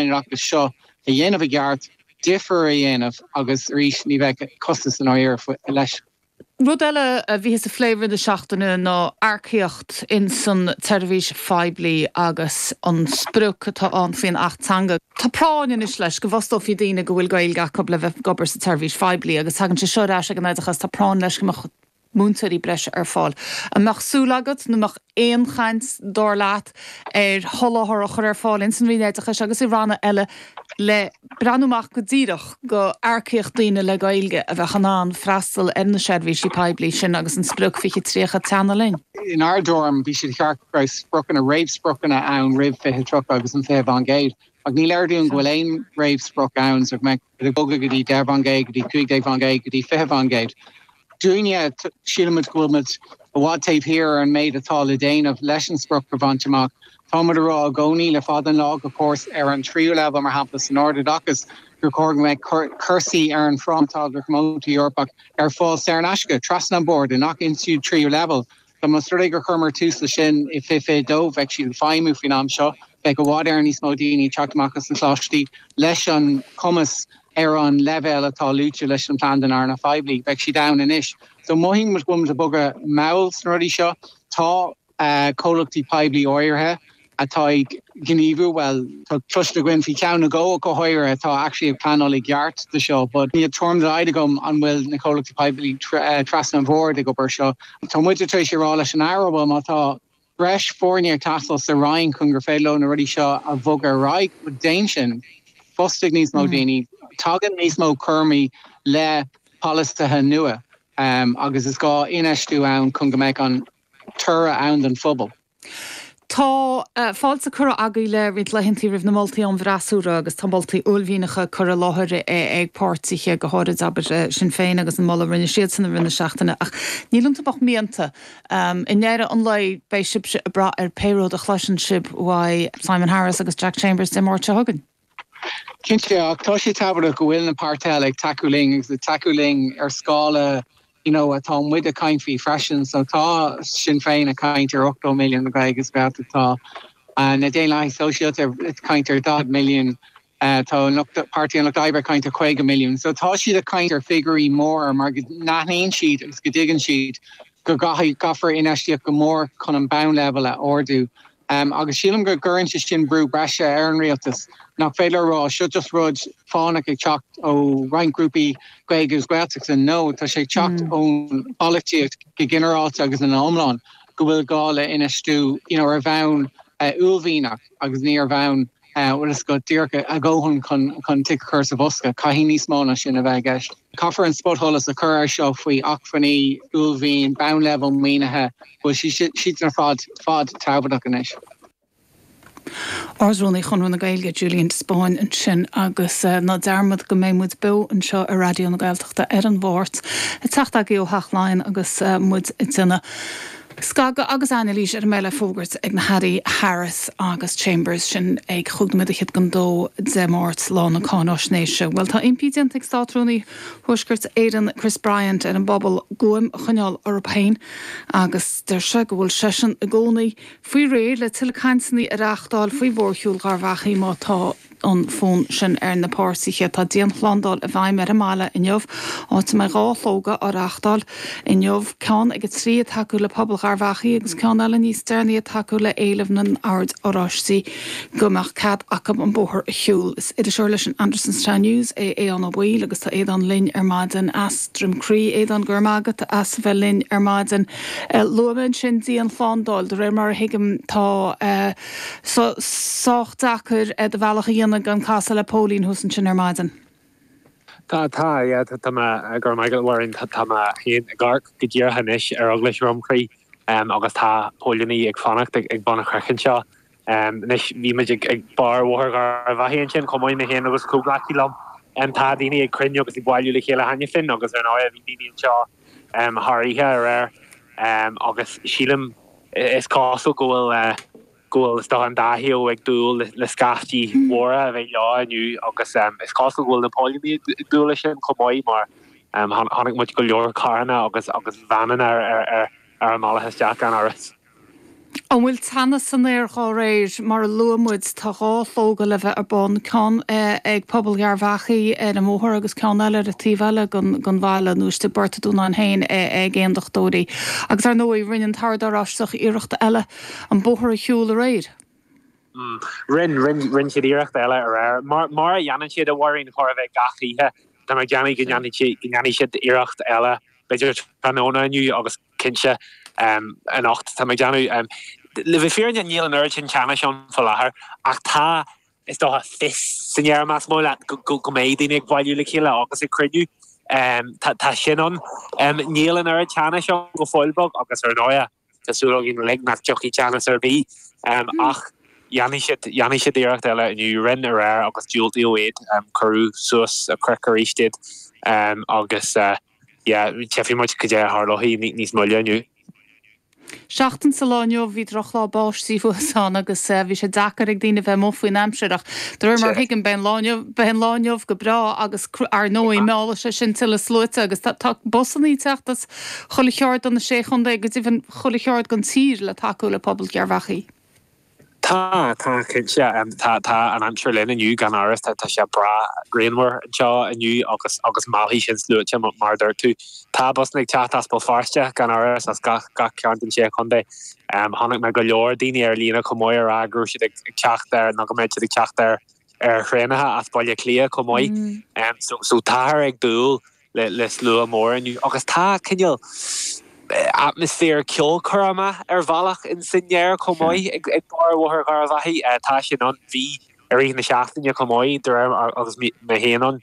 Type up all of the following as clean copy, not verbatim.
Roinn Oideachais seo a dhéanamh i gceart, difear a dhéanamh agus arís ní bheadh costas i ndáiríre leis. Rud eile a bhíothas a phlé i rith na seachtaine ná earcaíocht ins an tseirbhís phoiblí agus an sprioc atá ann faoin Acht Teanga. Tá práinn anois leis go bhfostófaí daoine go bhfuil Gaeilge acu le bheith ag obair sa tseirbhís phoiblí agus tagann sé seo ar ais ag an oideachas, tá práinn leis go mbeadh múinteoirí breise ar fáil. An mbeadh súil agat nó an mbeadh aon chaint, dar leat, ar sholáthar a chur ar fáil ins an Roinn Oideachais agus i ranna eile le breathnú amach go díreach go earcaíocht daoine le Gaeilge a bheadh in ann freastal ar na seirbhísí poiblí sin agus an sprioc 2030 ag teannadh linn? Inár dtuairim, bhí sé ceart go raibh spriocanna, réamhspriocanna ann roimh 2030 agus an 20%, ach ní léir dúinn go bhfuil aon réamhsprioc ann so go mbeadh ag bogadh go dtí 10%, go dtí 15%, go dtí 20%. Dúinne, sílimid go bhfuil muid i bhfad taobh thiar ar an méid atá le déanamh leis an sprioc a bhaint amach. Tá muid ag rá i gcónaí le fada an lá gur chóir ar an tríú leibhéal, mar shampla san ardoideachas, gur chóir go mbeadh cúrsaí ar an bhfráma atá don Eorpach ar fáil saor in aisce trasna an bord i ngach institiúid tríú leibhéal. Dá mba rud é gur chuireamar tús leis sin i 2022, bheadh siad ag feidhmiú faoin am seo. Bheadh i bhfad Éireann níos mó daoine ag teacht amach as na coláistí leis an chumas ar an leibhéal atá luaite leis an plean don earnáil phoiblí. Bheadh siad ann anois. So mothaíonn muid go bhfuil muid ag bogadh mall sna rudaí seo. Tá comhlachtaí poiblí áirithe atá ag gníomhú, bhuel, tá cloiste againn faoi cheann nó dhó go háirithe atá actually ag pleanáil i gceart do seo, but níl tuairim dá laghad agam an bhfuil na comhlachtaí poiblí trasna an bhoird ag obair seo. Tá muid tar éis a rá leis an Aire, bhuel, má tá breis foirne ag teastáil sa Roinn chun gur féidir leo na rudaí seo a bhogadh ar aghaidh, bhuel, déan sin. Fostaigh níos mó daoine. Tagann níos mó cúraimí le polasaithe nua agus is gá infheistiú ann chun go mbeidh an toradh ann don phobal. Tá fáilte curtha agaibh le roinnt laethantaí roimh na moltaí ón bhfreasúra agus tá moltaí uaillmhianacha curtha i láthair ag páirtithe, go háirid, abair, Sinn Féin agus an moladh a rinne siadsan i rith na seachtaine. Ach níl iontu ach mianta. I ndeireadh an lae beidh sibhse ag brath ar pé rud a chloiseann sibh uaidh Simon Harris agus Jack Chambers Dé Máirt seo chugainn. Cinnte, ach tá sé tábhachtach go bhfuil na páirtithe eile ag tacú linn agus ag tacú linn ar scála you know atá muid ag caint faoi freisin. So tá Sinn Féin ag caint ar 80 milliún do Ghaeilge agus Gaeltacht, tá na Daonlathaigh Sóisialta ag caint ar 40 milliún, tá an lucht, Páirtí an Lucht Oibre ag caint ar 50 milliún. So tá siad ag caint ar figiúirí móra mar go n-aithníonn siad agus go dtuigeann siad go gcaithfidh, caithfear infheistíocht go mór chun an bonn-leibhéal a ardú. Agus sílim go gcuireann sé sin brú breise ar an rialtas, nach féidir a rá, seo just rud fánach ag teacht ó roinnt grúpaí Gaeilge agus Gaeltachta. No, tá sé ag teacht ón bpolaitíocht go ginearálta agus ina iomlán go bhfuil gá le infheistiú you know ar bhonn uaillmhianach agus ní ar bhonn bhfuil fhios agat díreach a dhóthain chun chun tic a chur sa bhosca. Caithfidh níos mó ná sin a bheith i gceist. Caithfear an spotsholas a chur air seo faoi acmhainní, uaillmhian, bonnleibhéal maoinithe, bhfuil siad ar fad fad tábhachtach anois. Ard-Rúnaí Chonradh na Gaeilge, Julian de Spáinn ansin agus ná dearmad go mbeidh muid beo anseo ar Raidió na Gaeltachta ar an Mháirt ag teacht agaibh ó Theach Laighean agus muid ag déanamh Scagadh agus anailís ar a mbeidh le fógairt ag na hAirí Harris agus Chambers, sin ag chúig nóiméad fhichead don dó Dé Máirt, lá na cáináisnéise. Bhuel, tá impí déanta ag Státrúnaí Thuaisceart Éireann Chris Bryant ar an bpobal guaim a choinneáil orthu féin agus deir sé go bhfuil seisean i gcónaí faoi réir le tuilleadh cainteanna a reáchtáil faoi mhórshiúl Gharbh Achaidh má tá an fonn sin ar na páirtithe. Tá dianshlándáil i bhfeidhm ar an mbaile inniu, áit a mbeidh 2 shlógadh á reáchtáil inniu, ceann ag 3 ag tacú le pobal Gharbh Achaidh agus ceann eile níos deireanaí ag tacú le éileamh na nOird Oráistí go mbeadh cead acu an bóthar a shiúl. Is iriseoir leis an Andersonstown News é Aodhán Ó Baoill agus tá Aodhán linn ar maidin as Droim Crí. Aodhán, go raibh maith agat as a bheith linn ar maidin. Luaigh mé ansin dianshlándáil, de réir mar a thuigim tá. Sách deacair do bhealach a dhéanamh gan casadh le póilín thuas ansin ar maidin. Tá, tá, yeah, tá mé, go raibh maith agat a Mháirín, tá mé féin ag amharc go díreach anois ar Eaglais Dhroim Chrí agus tá póilíní ag fanacht ag bun an chnoic anseo. Anois bhí muid ag barr Bhóthar Gharbh Achaidh ansin chomh maith, mé féin agus comhghleacaí liom. Tá daoine ag cruinniú agus ag bailiú le chéile cheana féin agus ar ndóigh bhí daoine anseo thar oíche aréir agus sílim is cosúil go bhfuil go bhfuil is dócha an dá thaobh ag dúil le scaifte mhóra a bheith leo inniu agus is cosúil go bhfuil na póilíní ag dúil leis sin chomh maith mar chonaic muid go leor carranna agus agus veaineanna ar ar ar an mbealach isteach gan amhras. An bhfuil teannas san aer dhá réir? Mar a luaigh muid, tá 2 shlógadh le bheith ar bun, ceann ag pobal Gharbhachaidh ar an mbóthar agus ceann eile ar an taobh eile den bhaile, nó istigh i bPort an Dúnáin féin ag aondachtóirí. Agus ar ndóigh, rinne an tOrd Oráisteach iarracht eile an bóthar a shiúl aréir. Rinn, rinn, rinn siad iarracht eile aréir. Mar, mar a dhéanann siad, a Mháirín, chóir a bheith gach oíche. Tá mé ag déanamh go ndéanfaidh siad, go ndéanfaidh siad iarracht eile, b'fhéidir tráthnóna inniu agus cinnte anocht, tá mé ag déanamh. Le bheith fírinneach níl an oiread sin teannais ann faoi láthair ach tá, is dócha, fios san aer, más maith leat, go mbeidh daoine ag bailiú le chéile agus ag cruinniú. Tá sin ann. Níl an oiread teannais ann go fóill beag agus ar ndóigh tá súil againn uilig nach dtiocfaidh teannas ar bith ach dhéanfaidh siad, dhéanfaidh siad iarracht eile inniu. Rinne aréir agus diúltaíodh iad, cuireadh suas an chnoic arís iad agus. yeah, tchífidh muid cad é a tharlóidh níos moille inniu. Seachtain sa lá inniu bhí drochlá báistí thuas ann agus bhí sé deacair ag daoine bheith amuigh faoin aimsir ach de réir mar a thuigim beidh an lá inniu, beidh an lá inniu go breá agus ar ndóigh meallfaidh sé sin tuilleadh sluaite agus tá tá busannaí ag teacht as chuile cheard de na sé chontae, go deimhin chuile cheard den tír le tacú le pobal Gharbhachaidh. Tá, tá, cinnte. Tá, tá an aimsir linn inniu gan amhras. Tá, tá sé breá grianmhar anseo inniu agus, agus meallfaidh sin sluaite mar a dúirt tú. Tá busanna ag teacht as Béal Feirste gan amhras, as gach, gach cearn den sé chontae. Chonaic mé go leor daoine ar líne chomh maith ag rá go raibh siad ag teacht ar, nó go mbeidh siad ag teacht ar, ar thraenacha as Baile Átha Cliath chomh maith. So, so táthar ag dúil le slua mór inniu agus tá cineál atmaisféar ceolchoirme ar bhealach in san aer chomh maith ag barr Bhóthar Gharbhachaidh. Tá sin ann. Bhí i rith na seachtaine chomh maith de réir agus mé féin ann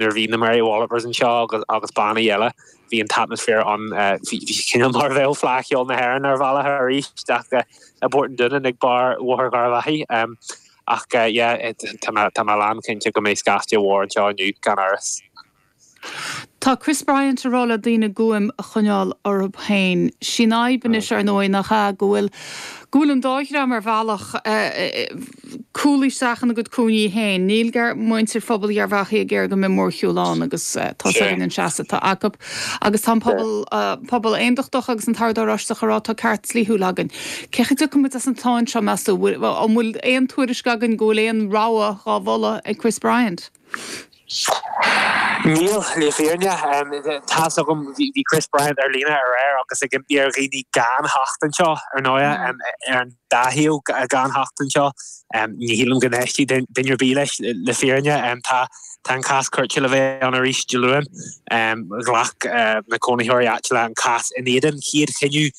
nuair a bhí na Mary Wallopers anseo agus agus bannaí eile bhí an t-atmaisféar ann bhí sé cineál mar a bheadh Fleadh Cheoil na hÉireann ar bhealach arís ach i bPort an Dúnáin ag barr Bhóthar Gharbhachaidh. Ach yeah tá mé tá mé lán cinnte go mbeidh scaifte mhór anseo inniu gan amhras. Tá Chris Bryant ag rá le daoine guaim a choinneáil orthu féin. Sí an fhadhb anois, ar ndóigh, nach ea, go bhfuil, go bhfuil an dá dhream ar bhealach cúlaithe isteach ina gcuid cúinní féin. Níl muintir phobal Gharbhachaidh ag iarraidh go mbeidh mórshiúl ann agus tá's againn an seasamh atá acu. Agus tá an pobal, pobal aondachtach agus an tOrd Oráisteach ag rá tá ceart dlíthiúil againn. Cén chaoi a dtiocfaidh muid as an tsáinn seo, meas tú? An bhfuil aon tuairisc againn go bhfuil aon rogha dhá mholadh ag Chris Bryant? Níl, le fírinne. Tá's agam, bhí Chris Bryant ar líne aréir agus ag impí ar dhaoine gan theacht anseo, ar ndóigh, ar an dá thaobh, gan theacht anseo. Ní shílim go n-éistfidh duine ar bith leis, le fírinne. Tá an cás cúirte le bheith ann arís Dé Luain. Ghlac na cónaitheoirí áitiúla an cás in éadan chéad chinneadh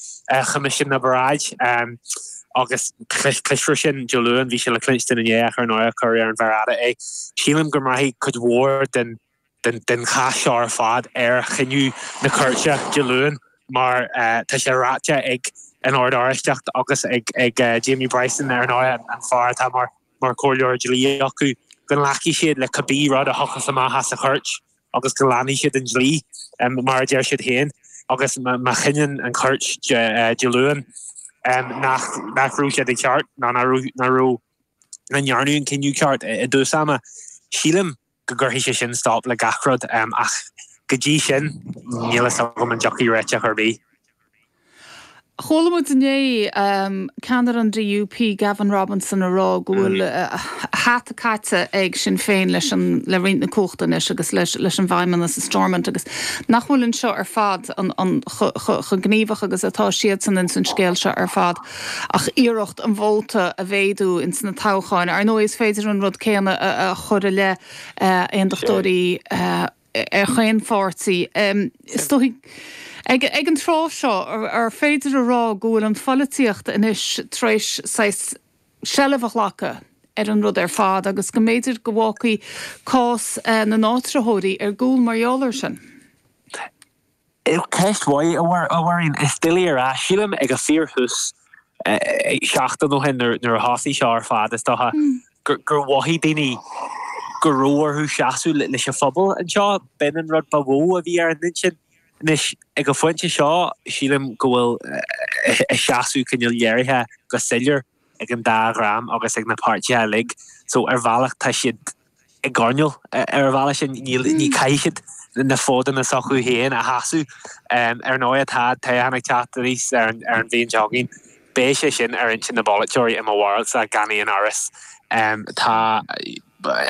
Choimisiún na bParáid. Agus cloisfear sin Dé Luain, bhí sé le cluinstin inné ach ar ndóigh cuireadh ar an mhéar fhada é. Sílim go mbraithfidh cuid mhór den den chás seo ar fad ar chinneadh na cúirte Dé Luain mar tá sé ráite ag an Ord Oráisteach agus ag Jamie Bryson ar ndóigh, an fear atá mar mar chomhairleoir dlí acu, go nglacfaidh siad le cibé rud a thiocfas amach as an chúirt. agus go leanfaidh siad an dlí, mar a deir siad féin, agus má chinneann an chúirt Dé Luain nach raibh siad i gceart nó nach raibh, nach raibh, nach ndearnadh an cinneadh ceart i dtús ama, sílim go gcuirfidh sé sin stop le gach rud. Ach go dtí sin, níl a fhios agam an dtiocfaidh réiteach ar bith. Chuala muid inné ceannaire an DUP, Gavin Robinson, ag rá go bhfuil a hata caite ag Sinn Féin leis an le roinnt na cumhachta anois agus leis leis an bhFeidhmeannas i Stormont agus nach bhfuil anseo ar fad an an chomh gníomhach agus atá siadsan ins an scéal seo ar fad ach iarracht an vóta a mhéadú ins na toghcháin. Ar ndóigh is féidir an rud céanna a chur i leith aondachtóirí ar chaon pháirtí. Is dóigh, ag an tráth seo, ar féidir a rá go bhfuil an pholaitíocht anois tar éis saghas seilbh a ghlacadh ar an rud ar fad agus go mb'fhéidir go bhfágfaidh cás na n-áitritheoirí ar gcúl mar gheall air sin? Ceist mhaith, a Mháirín. Is doiligh a rá. Sílim ag a fíorthús, seachtain ó shin nuair a thosaigh seo ar fad, is dócha, gur mhothaigh daoine go raibh orthu seasamh leis an phobal anseo. B'in an rud ba mhó a bhí ar a n-intinn. Anois, ag an phointe seo, sílim go bhfuil a seasamh cineál léirithe go soiléir ag an dá dhream agus ag na páirtithe uilig. So, ar bhealach, tá siad i gcoirnéal ar an bhealach sin. Níl, ní caithfidh siad na fódanna s'acu féin a sheasamh. Ar ndóigh, tá toghchán ag teacht aníos ar an ar an bhliain seo chugainn. Beidh sé sin ar intinn na bpolaiteoirí i mo bharúilsa gan aon amhras. Tá.